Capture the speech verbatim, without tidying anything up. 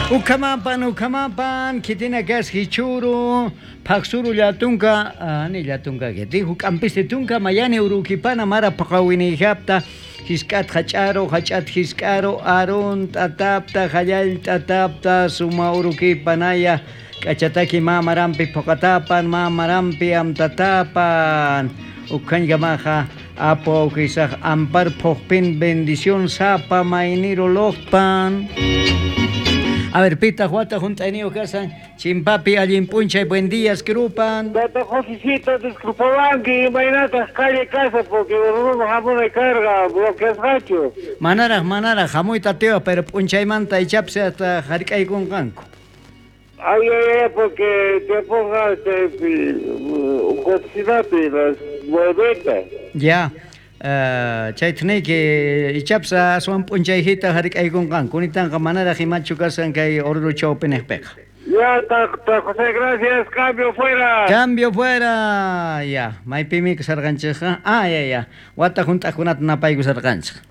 Ukhamapan, ukhamapan, kitina kas hichuru, phaqsuru llatunka, ani llatunka kiti, huk'ampiste tunka mayani urukipana mara phaqawinijapta, hisk'at hach'aru, hach'at hisk'aru, arun t'atapta, hallal t'atapta, suma urukipanaya, k'achataki mamarampi phuqatapan, mamarampi amtatapan, ukhañkamaja apu awkisaj ampar phuqpin bendición sapa mayniro loqpan. A ver, pita huata junt'ayniyuq kasan, chimpapi allin p'unchay, buen días, krupan. Tata Josecito, disculpawanki, imaynataq calle casa porque runa hamunay karqa bloqueasqachu. Manaraj, manaraj, hamuyta atiwaj, pero p'unchaymanta ichapis hasta hark'aykunqanku. Ay, ay, ay, porque tiempoqa chaypi cocinapi las nueveta. Ya, uh, chayta niyki ichapis aswan p'unchayhita hark'aykunqanku, kunitanqa manaraj imachu kasan kay Oruro chawpiniqpiqa. Ya, ta, José, gracias, cambio fuera. Cambio fuera. Ya, maypimi kasarqanchikqa? Ah, ya, ya. Wata hunt'aqkunata napaykusarqanchik.